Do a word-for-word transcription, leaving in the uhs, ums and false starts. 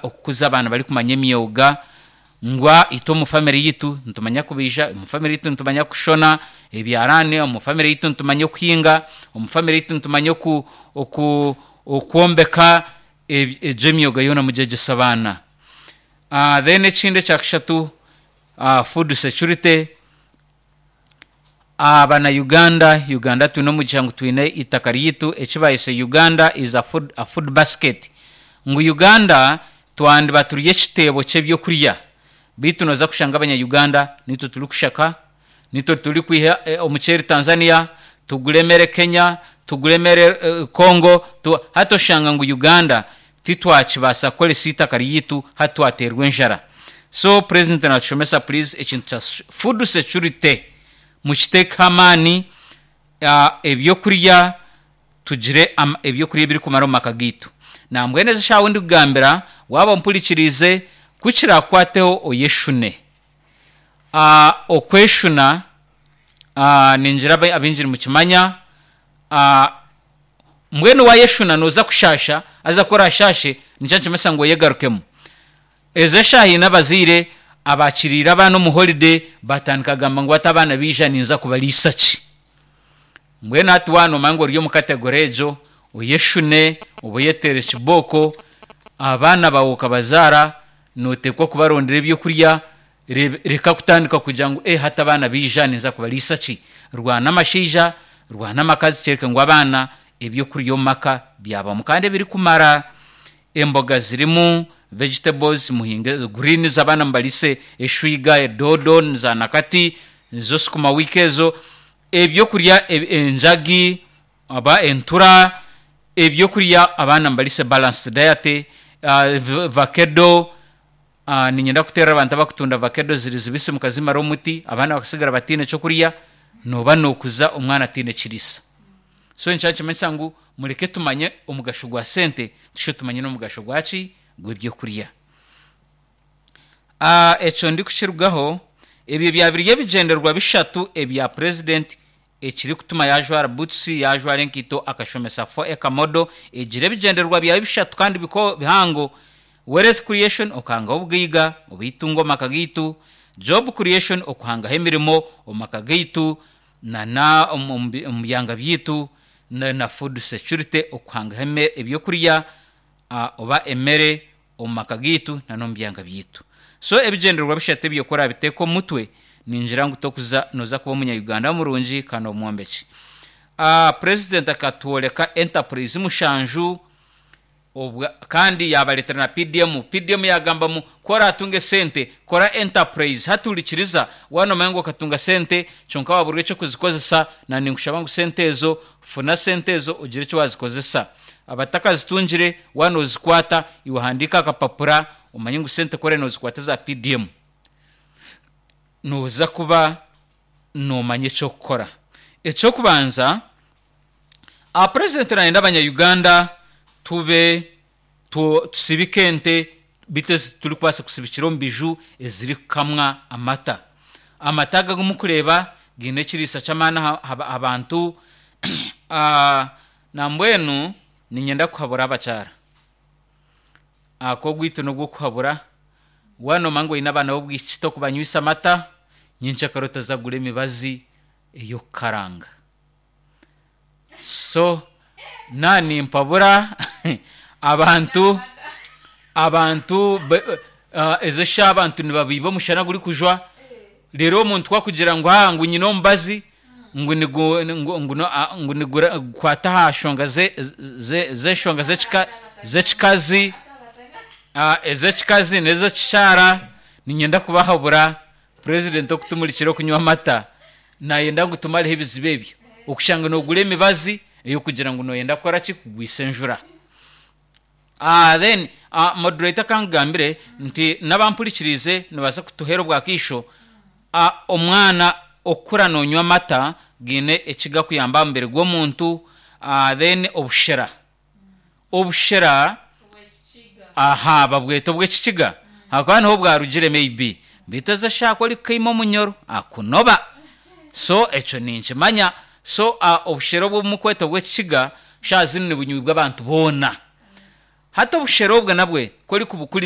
Okukuza abaana barikumanya emyoga, ngu itwe omu famire yitu nitumanya kubaija, omu famire yitu nitumanya kushona ebyaraani, omu famire yitu nitumanya okuhinga, omu famire yitu nitumanya oku oku okwombeka. Egyo emyoga yoona mugyegyese abaana. Then ekindi ekyakashatu, food security. Abana Uganda, Uganda twine omugisha ngu twine eitaka ryaitu, eki bayese Uganda is a food, a food basket, ngu Uganda twandiba turi ekiteebo ky'ebyokurya, beitu nooza kushanga abanya Uganda nitwe turikushaka, nitwe turikwiha omuceeri Tanzania, tugure emere Kenya, tugure emere Congo. Hati oshanga ngu Uganda titwakibaasa kukoresa eitaka ryaitu, hati twateerwa enjara. So Purezidenti naatushomesa, please, ekintu kya food security mukiteekeho amaani, ebyokurya, tugire ebyokurya ebirikumara omu maka gaitu. Nambwenu ezi eshaaha ahu ndikugambira, waaba ompurikiriize, ku kiraakukwateho oyeshune. Okweshuna ningira abaingi nimukimanya, mbwenu waayeshuna nooza kushaasha, haza ku oraashaashe nikyo nikimanyisa ngu oyegarukemu. Ezi eshaaha haine abazaire abaakiriire abaana omu holiday batandika kugamba ngu hati abaana baija ninza kubariisa ki? Mbwenu hati waaba noomanya ngu ori omu category egyo, oyeshune oba oyeteere kibooko, abaana baawe okabazaara nooteekwa kubarondera ebyokurya, reka kutandika kugira ngu ee hati abaana baija ninza kubariisa ki? Rwana amashaija, rwana amakazi kyoreka ngu abaana ebyokurya omu maka byabamu kandi ebirikumara. Emboga zirimu, vegetables, muhinge greens abaana mubariise eshwiga, edoodo, za nakati, nizo sukuma wiki ezo, ebyokurya enjagi oba entura, ebyokurya abaana mubariise balanced diet, vakedo, niinyenda kuteerera abantu abarikutunda vakedo ziri zibisi mukazimara omuti abaana bakasigara bataine kyokurya, nooba nookuza omwana ataine kiriisa. So nikyo nikimanyisa ngu mureke tumanye omugasho gwa sente, tushube tumanye n'omugasho gwaki? Gw'ebyokurya. Ekyo ndikukirugaho, ebyo byaba biri ebigyendererwa bishatu ebya Purezidenti ekirikutuma yaajwara butusi, yaajwara enkaito akashomesa four acre model, egire ebigyendererwa byayo bishatu kandi bihango: wealth creation, okuhangaho obugaiga oba eitungo omu maka gaitu, job creation, okuhangaho emirimo omu maka gaitu nana omu byanga byaitu, na food security, okuhangaho ebyokurya oba emere omu maka gaitu n'omu byanga byaitu. So ebigyendererwa bishatu ebyo ku orabiteeka omu mutwe, ningira ngu tokuza, nooza kuba omunya Uganda murungi kandi omwombeki. Purezidenti akatworeka enterprise mushanju kandi yaabareetera na P D M. P D M yaagamba ngu ku oraatunga esente, kora enterprise. Hati hurikiriza, waaba noomanya ngu okatunga sente kyonka waaburwa eky'okuzikozesa, naanye ninkushaba ngu sente ezo, funa sente ezo ogire eki waazikozesa. Abatakazitungire, waaba noozikwata, iwe handiika aha kapapura omanye ngu sente ku oraabe noozikwata eza P D M, nooza kuba noomanya eky'okukora. Eky'okubanza, Purezidenti naayenda abanya Uganda tube tusibike ente beitu ezi turikubaasa kusibikira omu biju ezirikukamwa amata. Amata ago agu murikureeba gaine ekiriisa ky'amaani aha bantu. Nambwenu niinyenda kuhabura abakyara. Ogwaitu n'ogw'okuhabura, waaba noomanya ngu oine abaana b'obwishiki torikubanywisa amata, nyenkyakare otaza kugura emibazi ey'okukaranga. So naaba nimpabura abantu, abantu ezi eshaaha abantu nibabiiba omushana gurikujwa, reero omuntu ku akugira ngu aa ngu nyine omubazi ngu ngu nigukwata aha nshonga z'enshonga z'ekikazi, ez'ekikazi n'ez'ekikyara, niinyenda kubahabura, Purezidenti okutumurikira okunywa amata, naayenda ngu tumareho ebizibu ebyo, okushanga noogura emibazi ey'okugira ngu nooyenda kukora ki? Kugwisa enjura. Then moderator ka nkugambire nti n'abampurikiriize nibabaasa kutuheera obwakaisho, omwana okukura noonywa amata gaine eki garikuyamba aha mubiri gw'omuntu, then obushera, obushera aha babweta obw'ekikiga ahakuba niho bwarugire maybe, beitu ezi eshaaha ku orikukaima omunyoro akunoba, so ekyo ninkimanya. So obushera obu obumurikweta obw'ekikiga shaaha zinu nibunywibwa abantu boona. Hati obushera obwo nabwe ku orikubukuriza